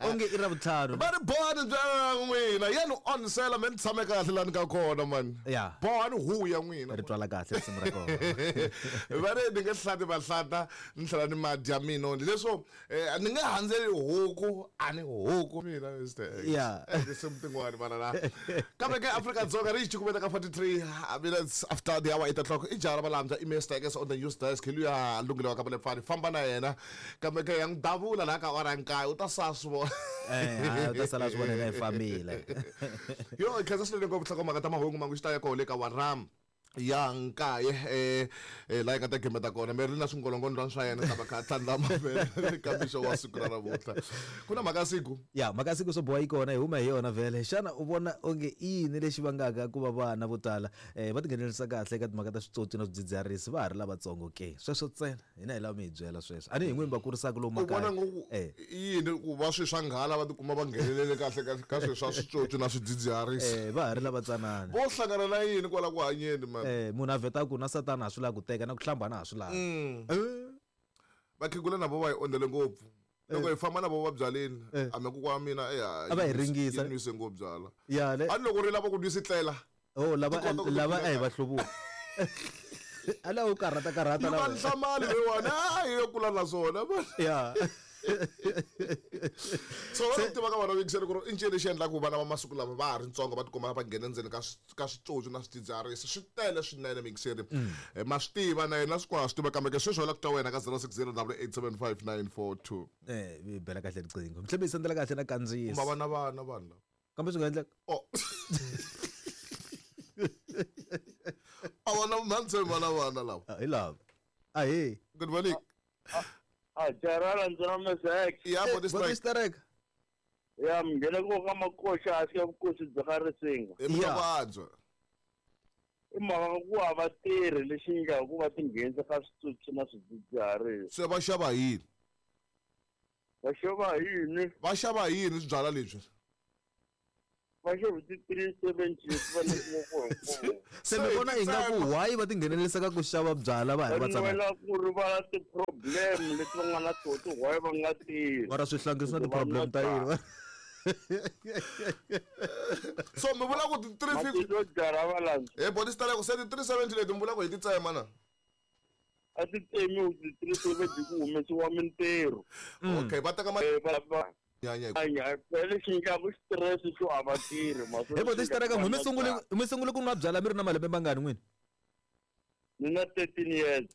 Onge i Ravuntlhanu. Va ri bohani byala ya n'wina ya ni onhisela me ni tshame kahle lani ka kona mani. Ya. Bohani hu ya n'wina. Ri twala kahle risimu ra kona. Va ri ni nge hlati vahlata ni tlhela ni madya mina leswo ni nge handzeli huku a ni huku mina Mr. X. Yeah. Tinsimu tin'wani vana la. Kambe ke Afrika-Dzonga ri yi cukumeta ka 43 minutes after the hour 8 o'clock i jaha ra valambya i Mr. X on the news desk hi luya lunghile wa ka Malepfani famba na yena kambe ke ya n'wi davula laha ka awara ya nkaye u ta sala swi vona. Hayi u ta sala swi vona yena i fambile. Yo hi khensa swinene ngopfu nhlokomhaka ta mahungu mangu xi ta ya koho le ka awara ya nkaye laha yi nga ta gimeta kona mi ri na swingolongondlwana swa yena ta va kha a tlhandlama vhele ka mixo wa siku ra namuntlha ku na mhaka ya siku ya mhaka ya siku swo boha yi kona hi huma hi yona vhele xana u vona onge i yini lexi vangaka ku va vana vo tala va tinghenelerisa kahle eka timhaka ta switsotsi na swidzidziharisi va ha ri lavatsongo ke sweswo ntsena hina hi lava mi hi byela sweswo a ni hi n'wini va kurisaka lomu U vona makaya ngo eh i yini ku va swi swa nghala va tikuma va nghenelele kahle ka ka swilo swa switsotsi na swidzidziharisi eh va ha ri lavatsanana vo hlangana na yini kwala ku hanyeni mani eh munhu a vheta ku na satana ha swi lavi ku teka na ku hlamba na ha swi lavi vakhegula na vo va hi ondzele ngopfu loko hi famba na vo va byaleni a mi kokwa wa mina A va hi ringisa. yi nwise ngopfu byala ya le a ni loko ri lava ku nwisi tlela oh lava Ti kota ku lava ti a hi va hluvuka a lava ku karhata karhata yi va lava nhlamali leyiwani a yi yo kula na swona ya so va tiva ka vana yingisele ku ri i ncini lexi endlaka ku vana va masiku lama va ha ri ntsongo va tikuma va nghena endzeni ka ka switsotsi na swidzidziharisi swi tele swinene muyingiseri ma swi tiva na yena swi swi tiva kambe ke sweswi wela ku twa wena ka 060 875 942 eh bela kahle riqingho mhlawumbe yi sendela kahle na kandziyisa va na vana vanhu lava kambe swi nga endleka oh a vona mhandzeni vana vana lava hi lava ahee good morning A jarala ndzi na Mr. X. ya body strike strike Ya mngheneko ka makoxa a sika vukosi bya ka risinga. hi mavabyi I mhaka ku hava tirhi lexi endlaka ku va tinghenisa ka switsotsi na swidzidziharisi. Se va xava yini? Va xava yini? Va xava yini swibyala leswi? Va xava ti 370 leti va nyikiwaka hi Se mi vona ingaku why va tinghenelerisa ka ku xava byala va ha ri Va vatsanana? nwela ku rivala ti-problem leti va nga na toho ti why va nga tirhi. Mara swihlangi swi na ti-problem ta yini? So mi vula ku ti 350 Matihlo jara va landza. He body style se ti 370 leti mi vula ku hi ti tsema na? A ti tsemiwi ti 370 ku humesiwa mintirho. Okay, va teka va nyanya hi phela lexi nyikaka stress xo a va tirhi He body strike mi sungule mi sungule ku nwa byala mi ri na malembe mangani n'wini? Ni na 13 years.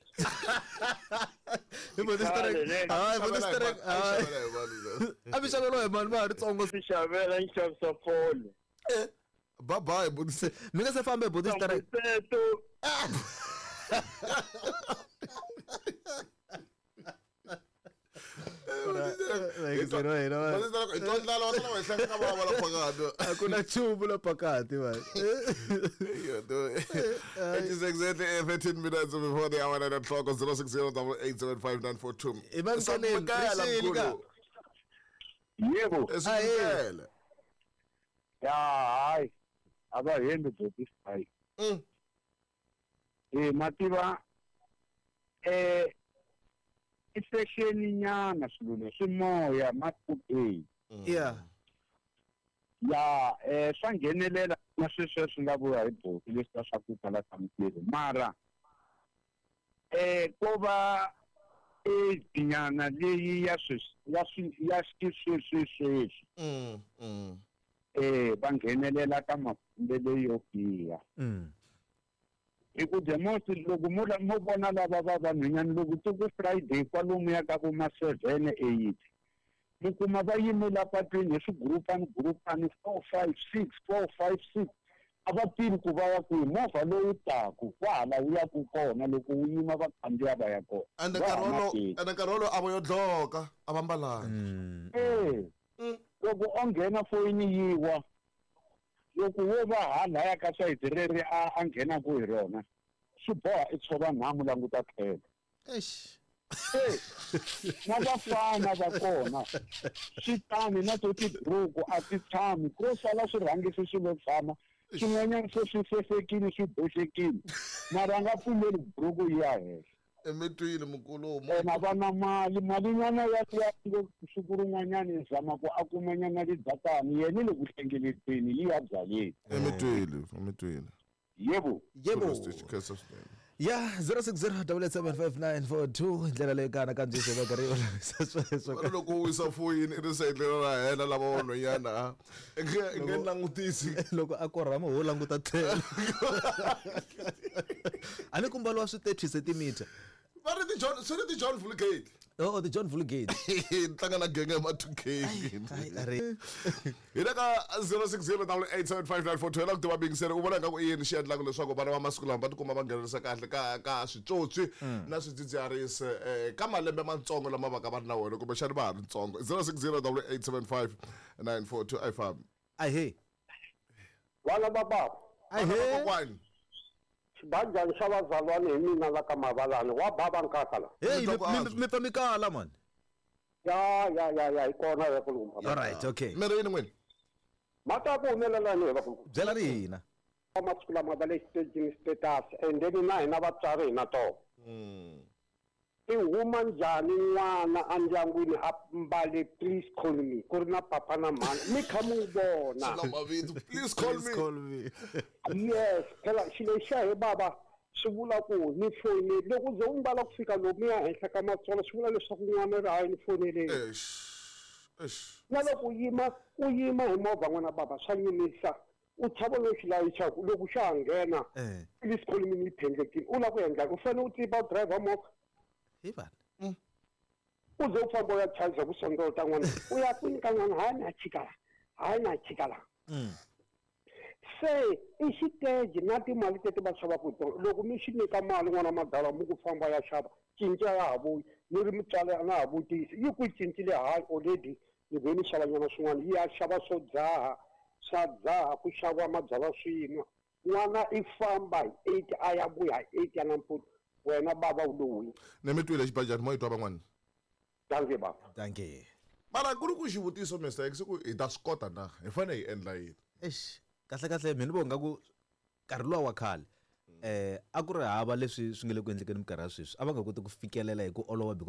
He body strike. Hayi body strike. A mi xaveriwa hi mali ma ha ri tsongo. Ti xavela ni xavisa fole. Bye bye body. Mi nga se fambe body strike. Teto. A ku na nchumu la pakati man. It is exactly 13 minutes before the hour 9 o'clock on 060 875 942. Emamkeleni, Mkhulu. Yebo. Esimkele. Ya hayi. A va hembi body strike. Mativa i fashion nyana swilo leswi moya ma today. Yeah. Ya swa nghenelela na sweswo swi nga vuya hi boti leswi swa ku kala ka mintirho mara ko va age nyana leyi ya sweswi ya swi ya xisweswi sweswi. Va nghenelela ka mafambelo yo biha. Hi ku the most loko mo mo vona lava va vanhwanyana loko ti ku Friday kwalomuya ka vo ma 7 8 mi kuma va yime la patwini hi swigurupani gurupani 4 5 6 4 5 6 a va tivi ku va ya kwihi movha lowu taku kwahala wu yaku kona loko wu yima va khandziya va ya kona. Ende Va nkarhi ha wolowo na ende nkarhi wolowo a vo yo dloka a va mbalanga. Loko o nghena foyini yiwa loko wo va halaya ka sayiti reri a nghenaku hi rona swi boha i tshova nhamu languta tlhelo. Eish. Na vafana va kona swi tani na to tiburuku a ti tshami ko sala swi rhangisi swi lo tshama swin'wanyana se swi sesekile swi boxekile mara a nga pfumeli buruku yi ya henhla. Emitwini mukulu. Ena va na mali, malinyana ya ya siku rin'wanyana i zama ku a kumanyana lidzatani yena le ku hlengeleteni yi ya byaleni. Emitwini, emitwini. Yebo. Yebo. Khensa swinene. Ya, 0607875942 ndlela leyi kana kandziyiso va karhi olovisa sweswo. Va ri loko u wisa foyini i ri sayitela ra hela lava vanhwanyana a i nge langutisi. Loko a korhama ho languta tlhelo. A ni ku mbaliwa swi 30 centimeter. Va ri ti John, swi ri ti John Vulgate. Oh, ti John Vulgate. Ni tlanga na genge ya ma 2K. Ai, a ri. Hi le ka 0608875942 la ku tiva bingisele u vona ingaku i yini xi endlaka leswaku vana va masiku lama va tikuma va nghenelerisa kahle ka switswotswi na swidzidziharisi ka malembe matsongo lama va ka va ri na wona kumbexani va ha ri ntsongo. 0608875942 a yi fambi. Ahee. Vana va baba. Ahee. Kokwani. Xibanjani xa vazalwana hi mina la ka Mavalani wa baba nkaka la. Hey, Mi twa ku antswa. mi pfa mi kala man. Ya ya ya ya hi kona ya kulumba. All right, okay. Mi ri yini n'wini? Mata ku humelela ni hi va kulumba. Byela ri hina. Masiku lama va le xitejini status and then na hina vatswari hi na tona. I huma njhani n'wana endyangwini a mbale please call me ku ri na papa na mhani mi kha mi n'wi vona. Swi na mavito. Please call Please me. call me. Yes, phela xilo xa he baba swi vula ku ni fonele loko u ze u mbala ku fika lomuya henhla ka matsolo swi vula leswaku n'wana ri hayi ni foneleni. Eish. Eish. Na loko u yima hi movha n'wana baba swa nyumisa u chava no xi layichaku loko xa ha nghena please call me ni yi phendlekile u lava ku endla u fanele u tiva u driver movha. Hi vana. U ze u famba u ya chayisa ku sondota n'wana u ya kwini ka n'wana hayi na chika la hayi na chika la. Se i xiteji na timali teti va xavaka hi tona loko mi xi nyika mali n'wana madala mi ku famba ya xava cinca ya ha vuyi ni ri mutswari a na ha vutisi yi ku yi cincile hayi already ni ve ni xava nyana swin'wana yi ya xava swo dzaha swa dzaha ku xaviwa mabyalwa swin'wa n'wana i famba hi 8 a ya vuya hi 8 ya nampundzu wena baba u lo wini. Ni mi twile xibajani mo yi twa van'wana. Dankie baba. Dankie. Mara ku ri ku xivutiso Mr X ku hi ta swi kota na hi fanele hi endla yini? Eish, kahle kahle mina ni vona nga ku nkarhi luwa wa khale a ku ri hava leswi swi nga le ku endlekeni minkarhi ya sweswi a va nga koti ku fikelela hi ku olova because